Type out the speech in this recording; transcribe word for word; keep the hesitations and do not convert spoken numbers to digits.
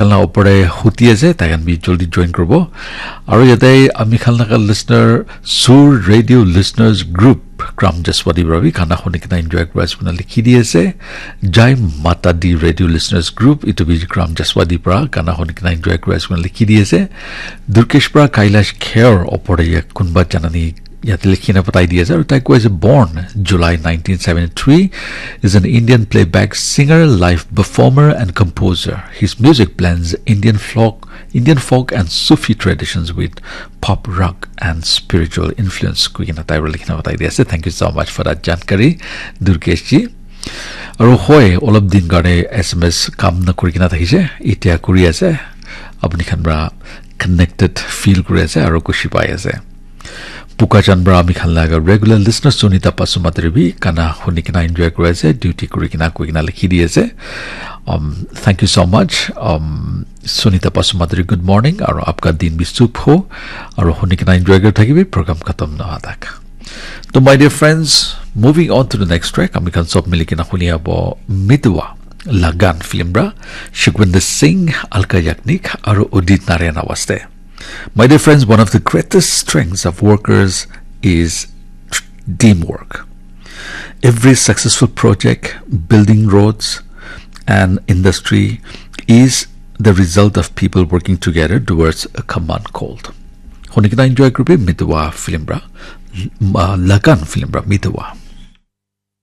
khan la opor te huti ase, tai khan bi joldi join kuribo. Aru yate ami khan laga listener, Sur Radio Listeners Group, Kram Jaswadi para bi gana huni kena enjoy kuri ase koina likhi di ase. Jai Mata Di Radio Listeners Group, itu bi Kram Jaswadi para gana huni kena enjoy kuri ase koina likhi di ase. Durkesh para Kailash Kher opor te ya kunba janani yate likhi na patai di ase. Aru tai koi ase, born July nineteen seventy-three, is an Indian playback singer, live performer and composer. His music blends Indian folk, Indian folk and Sufi traditions with pop, rock and spiritual influence. Koi kena tai para likhi na patai di ase. Thank you so much for that jankari, Durkesh ji. Aru hoi, olop din karne S M S kam na kuri kena thakise, itia kuri ase. Apni khan para connected feel kuri ase aru khushi pai ase. Pukachan para ami khan laga regular listener Sunita Pasumatri bi gana huni kena enjoy kuri ase, duty kuri kena koi kena likhi di ase. Um, thank you so much. Um, Sunita Pasumatri, good morning. Aru apka din bi shubh ho. Aru huni kena enjoy kuri thakibi program khatam na howa tak. To my dear friends, moving on to the next track, ami khan sob mili kena huni abo Mitwa Lagan film para, Sukhwinder Singh, Alka Yagnik, aru Udit Narayan awaste. My dear friends, one of the greatest strengths of workers is tr- teamwork. Every successful project, building roads, and industry is the result of people working together towards a common goal. Huni kena enjoy kuribi Mitwa film para, uh, Lagan film para Mitwa.